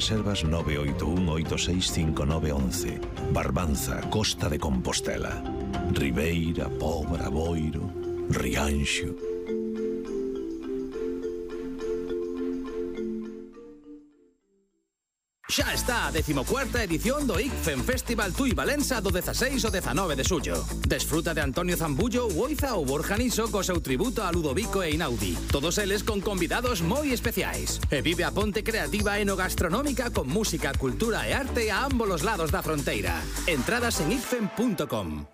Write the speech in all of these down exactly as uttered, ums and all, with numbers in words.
Reservas nove oito un oito seis cinco nove once. Barbanza, Costa de Compostela. Ribeira, Pobra, Boiro, Rianxo. Xa está a decimocuarta edición do I C F E M Festival Tui Valença do dezaseis ao dezanove de xullo. Desfruta de Antonio Zambullo, Uoiza ou Borja Niso co seu tributo a Ludovico e Inaudi. Todos eles con convidados moi especiais. E vive a ponte creativa enogastronómica con música, cultura e arte a ambos os lados da fronteira. Entradas en i c f e m punto com.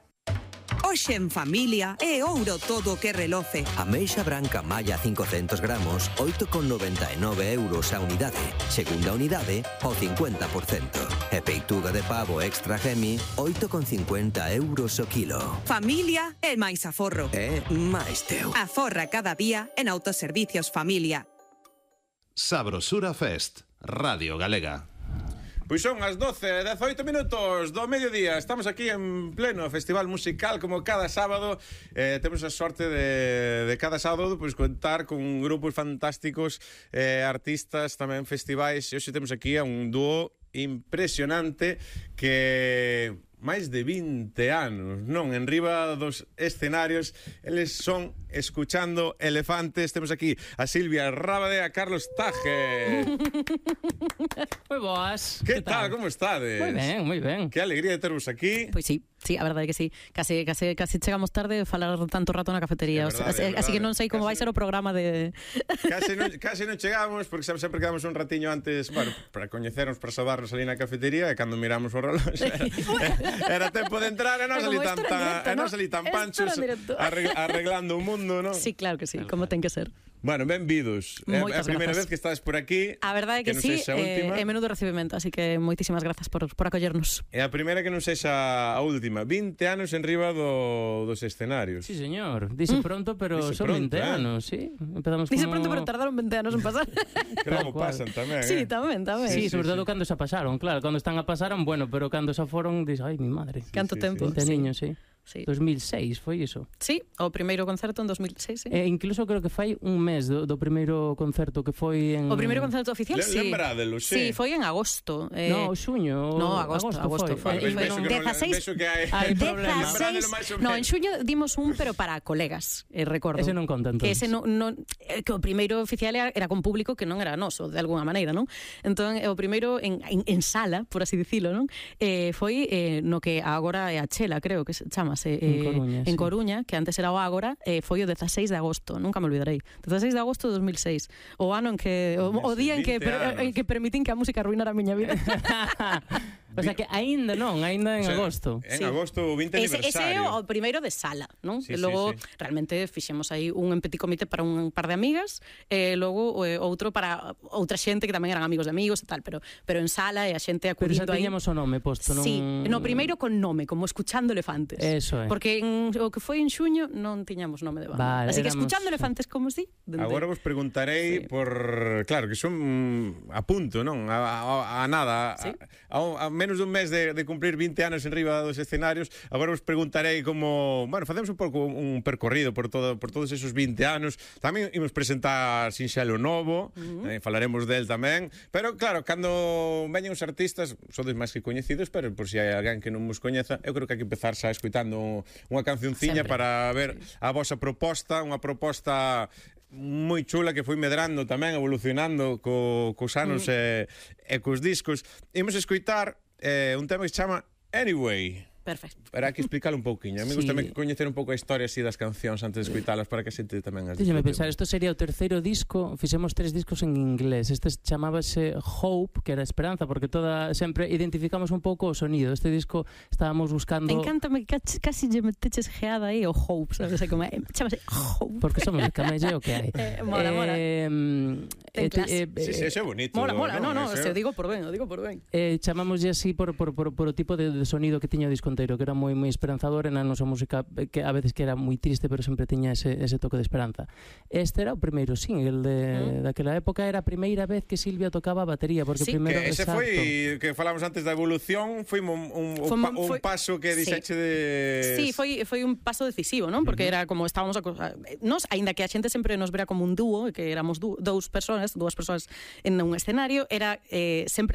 Hoxe en familia é ouro todo o que reloce. Ameixa branca malla cincocentos gramos, oito con noventa e nove euros a unidade. Segunda unidade, ao cincuenta por cento. E peituga de pavo extra gemi, oito con cincuenta euros o kilo. Familia é máis aforro. É máis teu. Aforra cada día en Autoservicios Familia. Sabrosura Fest, Radio Galega. Pois son as doce e dezaoito minutos do mediodía. Estamos aquí en pleno festival musical como cada sábado. eh, Temos a sorte de, de cada sábado pois, contar con grupos fantásticos, eh, artistas, tamén festivais. E hoxe temos aquí a un dúo impresionante que máis de vinte anos, non, en riba dos escenarios. Eles son Escuchando Elefantes. Temos aquí a Silvia Rábade e a Carlos Taje. Moi boas. Que tal? Como estades? Moi ben, moi ben. Que alegría de tervos aquí. Pois sí, sí, a verdade é que sí. Case, case, case chegamos tarde a falar tanto rato na cafetería. É verdade, así, é verdade. así que non sei como Case- vai ser o programa de... Case non, case non chegamos, porque sempre, sempre quedamos un ratiño antes, bueno, para coñecernos, para sabarnos ali na cafetería, e cando miramos o reloj era, era tempo de entrar, e non Como salí tan, isto era en tan, directo, e non ¿no? salí tan Esto panchos era en directo. arreg, arreglando o mundo, non? Sí, claro que sí, como ten que ser. Bueno, benvidos. É a Moitas primeira grazas. vez que estás por aquí. A verdade é que, non sí, sexa a eh, última. é menudo recibimento, así que moitísimas grazas por, por acollernos. É a primeira que non sexa a última. vinte anos en riba do, dos escenarios. Sí, señor. Dice pronto, pero Dice son pronto, veinte eh. anos, sí. Empezamos Dice como... pronto, pero tardaron veinte anos en pasar. Que logo Tal cual. pasan tamén, Sí, eh? tamén, tamén. Sí, Sí, sobre sí, todo sí. cando se pasaron, claro. Cando están a pasaron, bueno, pero cando se foron, dices, ai, mi madre. Canto sí, tempo. veinte Sí. niños, sí. Sí. dos mil seis foi iso. Sí, o primeiro concerto en dos mil seis, sí. E incluso creo que fai un mes do, do primeiro concerto que foi en... O primeiro concerto oficial, Le- sí. Lembrádelo, sí. Sí, foi en agosto. Eh, No, xuño. No, agosto, agosto, foi. foi. Vale, foi vexo non- que non- dezaseis vexo que hai- Hai problema. Lembrádelo dezaseis máis ou No, menos. en xuño dimos un, pero para colegas, eh, recordo. Ese non conta, entón. Que ese non, non, eh, que o primeiro oficial era, era con público que non era noso, de alguna maneira, non? Entón, eh, o primeiro en, en, en sala, por así dicilo, non? Eh, foi eh, no que agora é a Chela, creo que se chamase. En Eh, Coruña, en sí. Coruña, que antes era o Ágora, eh, foi o dezaseis de agosto, nunca me olvidarei. dezaseis de agosto de dos mil seis. O ano en que o, o día en que vinte per, anos. en que permitín que a música arruinara a miña vida. O sea que aínda non, aínda en O sea, agosto. En Sí. agosto, o vinte Ese, ese é aniversario. o primeiro de sala, non? Sí, e sí, logo sí. realmente fixemos aí un en petit comité para un par de amigas, e logo eh, outro para outra xente que tamén eran amigos de amigos e tal, pero pero en sala e a xente Pero xa acudindo aí. tiñamos o nome posto, non? Sí, no primeiro con nome, como Escuchando Elefantes. Eso é. Porque en, o que foi en xuño non tiñamos nome de banda. Vale, Así que éramos- Escuchando Elefantes, como si? Dende- Agora vos preguntarei Sí. por... Claro, que son a punto, non? A, a, a nada. Sí. A, a, a menos dun mes de, de cumplir vinte anos en riba dos escenarios. Agora vos preguntarei como... Bueno, facemos un pouco un percorrido por todo por todos esos vinte anos. Tamén imos presentar Sinxelo Novo, uh-huh. eh, falaremos del tamén. Pero, claro, cando veñen os artistas, sodes máis que coñecidos, pero por si hai alguén que non vos coñeza, eu creo que hai que empezar xa escuitando unha cancionciña Sempre. para ver a vosa proposta, unha proposta moi chula que foi medrando tamén, evolucionando co, cos anos e, e cos discos. Imos escoitar eh, un tema que se chama Anyway. Perfecto. Pero hai que explicarlo un pouquiño. A mí Sí. gusta tamén coñecer un pouco a historia así das cancións antes de escoitalas para que a xente tamén as Díxeme disfrute. pensar, isto sería o terceiro disco, fixemos tres discos en inglés. Este chamábase Hope, que era esperanza, porque toda sempre identificamos un pouco o sonido. Este disco estábamos buscando... Encántame que casi, casi lle meteches geada aí o Hope, sabes? Como, eh, chamase Hope. Porque somos de Camelle o que hai. Eh, mola, mola. Eh, Ten eh, te- clase. eh, Sí, sí, eh, eso é bonito. Mola, mola, no, no, Eso- se o digo por ben, o digo por ben. eh, chamámoslle así por, por, por, por o tipo de, de sonido que tiña o disco inteiro, que era moi moi esperanzador, e na nosa música eh, que a veces que era moi triste, pero sempre tiña ese, ese toque de esperanza. Este era o primeiro single de, Mm. daquela época, era a primeira vez que Silvia tocaba a batería, porque Sí. primeiro Que ese exacto. foi, que falamos antes da evolución, foi un, un, Foi un, un- pa, un foi- paso que sí. dixeche de... Sí, foi foi un paso decisivo, non? Porque era como estábamos aco- nos, aínda que a xente sempre nos vera como un dúo, que éramos dú, dous persoas, dúas persoas en un escenario, era eh, sempre